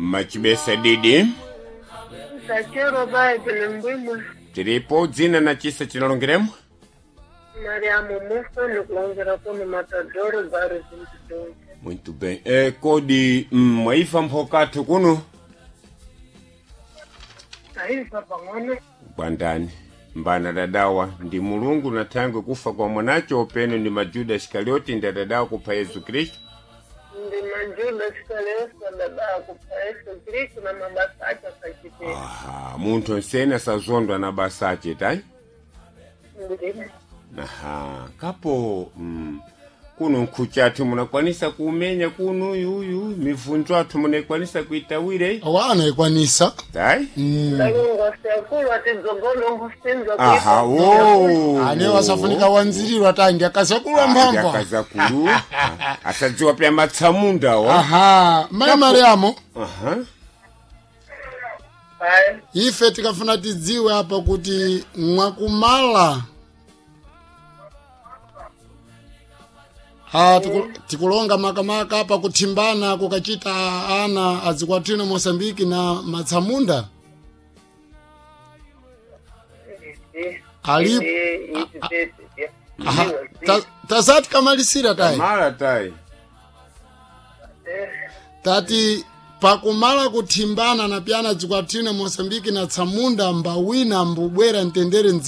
Machibesa didi. Sachero bayi tili mbwimwe. Tiripo dzina na chisa chinalongeremo. Mariamu Musa nikulongera kuno Matadoro bairro Zintidongo. Muito bem. Kodi mwaifa mphokathu kuno? Taifa pang'ono. Bwandani. Mbana dadawa ndi Mulungu na thangwe kufa kwa mwanacho openo ndi majuda Iskarioti ndi adadawa kupha Yesu Kristu. Ndi majuda Iskarioti dada kupha Yesu Kristu na mabasa ache akachitira. Aha, munthu onsene asazondwa na basa ache tayi. Ndimo. Aha, kapo kuno nkhuchathu munakwanisa kumenya kuno uyuyu mivunzo athu munakwanisa kuitawire Wana ikwanisa. tayi. Ndalungu sekulu atidzogolo nkusinza. Aha, wo Ane wasafunika wanzirirwa tangi akazakulwa mphamvu. akazakulu asadziwa pya matsamunda wa. Aha, mai Mariamu, Aha. Ayi. ife tikafuna tidziwe apa kuti mwakumala ha tikulonga makamaka apa kuthimbana kukachita ana azikwatino Mosambiki na matsamunda Ali- Aha, tazati kamalisira tayi. Mara tayi. Tati pakumala kuthimbana na pyana zikwatino Mosambiki na tsamunda mbawina mbubwera mtendere.